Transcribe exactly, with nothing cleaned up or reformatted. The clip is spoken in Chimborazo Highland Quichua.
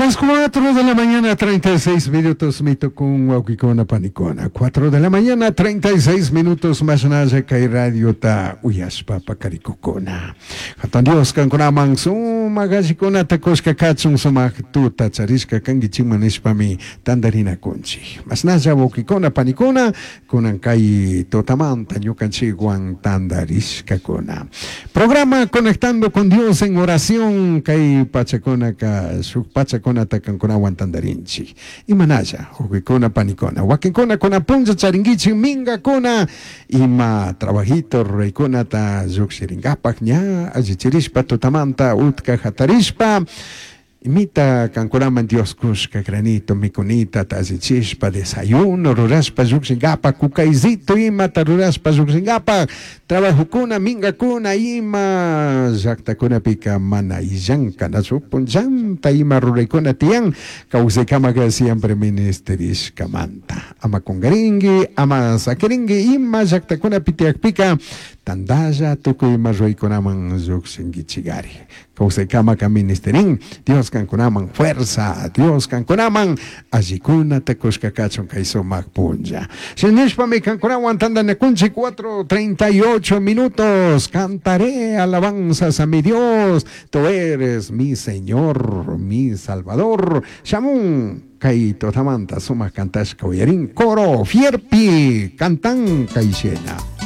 Las cuatro de la mañana, treinta y seis minutos, mitukun wawkikuna panikuna. cuatro de la mañana, treinta y seis minutos, mashnalla kay radiota uyashpa pakarikukuna. Jatun Dios kankunaman sumak allikunata kushka kachun, sumak tuta charishka kankichikman nishpami tantarinakunchik. Mashnalla wawkikuna panikuna, kunan kay tutamanta ñukanchikwan tantarishkakuna. Programa Conectando con Dios en Oración, kay pachakunaka shuk pachakunata kankunawan tantarinchik. Imanalla, wawkikuna panikuna, wakinkuna kuna punlla charinkichik minkakuna, ima trabajito ruraykunata llukshirinkapak ña allichirishpa tutamanta utka hatarishpa, imita kankunaman Dios kushka granito mikunita allichishpa desayuno rurashpa llukshinkapak, kukaysito imata rurashpa llukshinkapak, trabajokuna minkakuna ima llaktakunapika mana illankanachu punllanta ima ruraykuna tiyan kawsaykamaka siempre ministerishkamanta. Ama kunkarinki, ama sakirinki ima llaktakunapi tiyakpika tantalla tukuy ima ruraykunaman llukshinkichikari. Kawsaykamaka ministerin. Dios kankunaman fuerza, Dios kankunaman allikunata kushka kachun kay sumak punlla. Shinishpami kankunawan tantanakunchik cuatro treinta y ocho minutos. Cantaré alabanzas a mi Dios. Tú eres mi Señor, mi Salvador. Shamun kay tutamanta sumak kantashka uyarin coro Fierpi cantan kay shina.